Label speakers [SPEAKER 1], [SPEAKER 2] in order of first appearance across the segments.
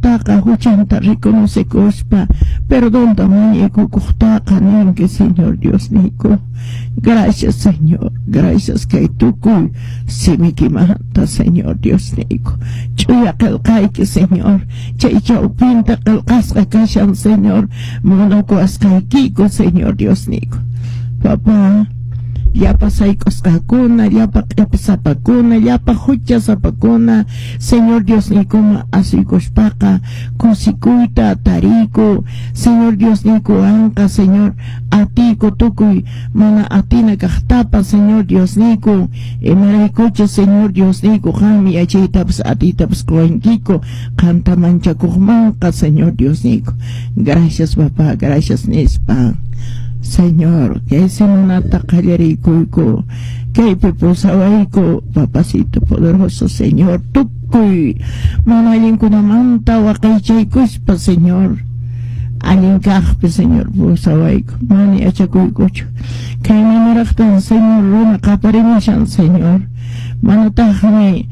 [SPEAKER 1] runataqa huchanta reconocekuspa perdonta mañaykukuqtaqa ninki, Señor Diosniyku. Gracias, Señor. Gracias kay tukuy simikimanta, Señor Diosniyku. Ch'uya qillqayki, Señor. Chay chawpinta qillqasqa kashan, Señor. Munakuwasqaykiku, Señor Diosniyku. Papá, llapa sayk'usqakuna, llapa q'ipisapakuna, llapa huchasapakuna, Señor Diosniykuman asuykuspaqa kusikuyta tariyku, Señor Diosniykuwanqa, Señor, atiyku tukuy mana atina kaqtapas, Señor Diosniyku, imaraykuchus, Señor Diosniyku, qanmi yachaytapas atiytapas quwankiku, qanta manchakuqmanqa, Señor Diosniyku. Gracias, papá, gracias nispa. Señor, kay semanata qallariykuyku, kaypi pusawayku, papacito poderoso, Señor, tukuy mana allinkunamanta waqaychaykuspa, Señor, allin kaqpi, Señor, pusawayku, mana yachakuykuchu. Kay manaraqtan, Señor, runa qaparimushan, Señor, manataqmi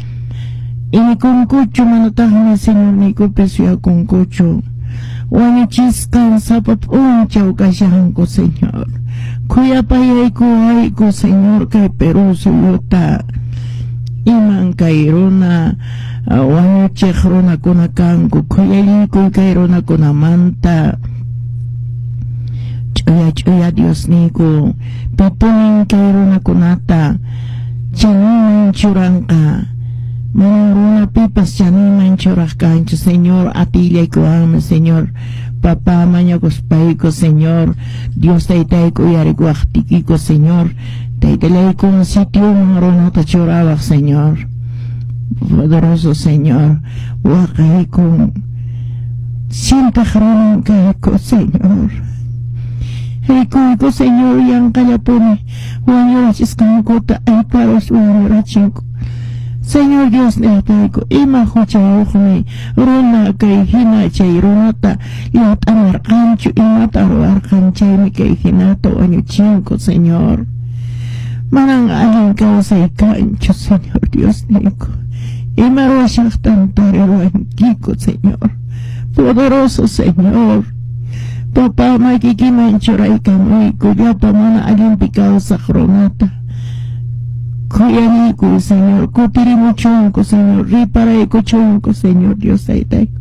[SPEAKER 1] inikunkuchu, manataqmi Señorniykupi suyakunkuchu. Wañuchisqan sapa p'unchaw kashanku, Señor. Khuyapayaykuwayku, Señor, kay Perú suyuta. Iman kay runa wañuchiq runakuna kanku, khuyallaykuy kay runakunamanta. Ch'uya ch'uya Diosniyku, pipunin kay runakunata chaninman churanqa. Manan runa pipas chaninman churaq kanchu, Señor, atiylaykuwanmi, Señor. Papá, mañakuspayku, Señor, Dios taytayku uyarikuwaqtiykiku, Señor, taytallaykun sitioman runata churawaq, Señor. Poderoso Señor, waqaykun sintaq runan kayku, Señor. Rikuyku, Señor, yanqallapuni wañurachisqankuta ayparus wañurachinku. Señor Dios niytayku, ima huchayuqmi runa kay hina chay runata llut'amarqanchu, imata ruwarqan chaymi kay hinata wañuchinku, Señor. Manan allin kawsay kanchu, Señor Dios niyku. Ima ruwashaqtan tariruwankiku, Señor. Poderoso Señor. Papá, makikiman churaykamuyku llapa mana allinpi kawsaq runata. Khuyariykuy, Señor, kutirimuchunku, Señor, riparaykuchunku, Señor Dios taytayku.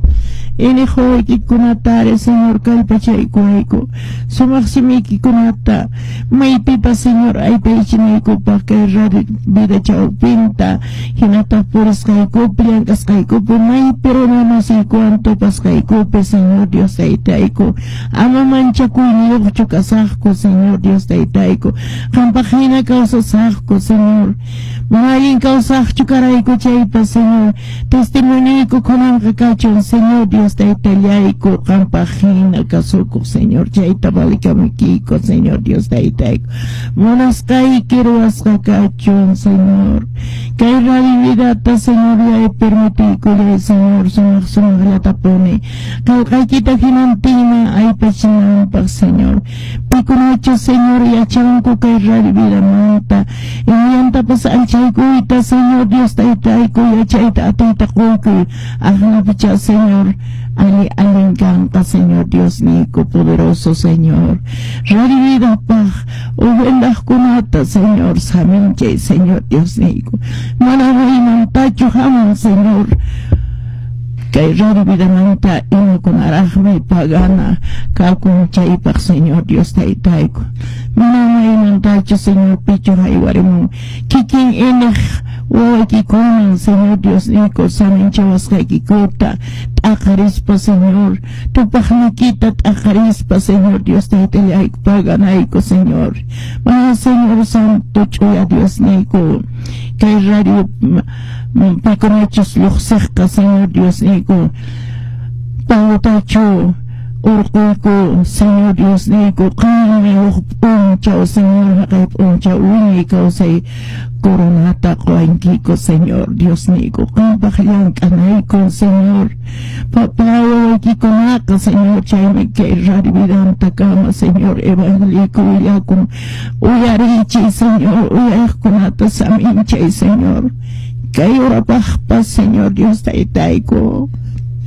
[SPEAKER 1] Iniq wawaykikunatari, Señor, kallpachaykuwayku, sumaq simiykikunata maypipas, Señor, aypaychinaykupaq kay radio vida chawpinta, hinataq purisqaykupi, llank'asqaykupi, maypi runa masiykuwan tupasqaykupi, Señor Dios taytayku. Ama manchakuyniyuqchu kasaqku, Señor Dios taytayku. Qampaq hina kawsasaqku, Señor. Mana allin kawsaqchu karayku chaypas, Señor, testimoniyku kunanqa kachun, Señor Dios taytallayku, qampaq hina kasukuq, Señor, chayta valikamukiyku, Señor Dios taytayku. Munasqayki ruwasqa kachun, Señor. Kay radio vidata, Señor, yay permitiykullay, Señor, sumaq sumaqllatapuni. Qillqaykita hinantinman aypachinanpaq, Señor. Pikunachu, Señor, yachanku kay radio vidamanta, imayantapas alchaykuyta, Señor Dios taytayku, yachayta atiyta quykuy, aqnapicha, Señor, ali allin kanqa, Señor Dios niyku, poderoso Señor. Radio vidapaq ofrendaqkunata, Señor, saminchay, Señor Dios niyku. Mana maymantachu hamun, Señor, kay radio vidamanta imakunaraqmi pagana kakun chaypaq, Señor Dios taytayku. Mana maymantachu, Señor, pichu haywarimun kikin iniq wawaykikunan, Señor Dios niyku, saminchawasqaykikuta t'aqarispa, Señor, tupaqniykita t'aqarispa, Señor Dios taytallayku, paganayku, Señor. Mana, Señor Santo, ch'uya Dios niyku, kay radio pikunachus lluqsiqqa, Señor Dios niyku, pagutachu urquyku, Señor Dios niyku, qanmi huk p'unchaw, Señor, haqay p'unchaw wiñay kawsay coronata quwankiku, Señor Dios niyku, qampaq llank'anayku, Señor. Papá, wawaykikunaqa, Señor, chaymi kay radio vidantakama, Señor, evangeliyku willakun. Uyariychay, Señor, uyariqkunata saminchay, Señor. Kay urapaqpas, Señor Dios taytayku.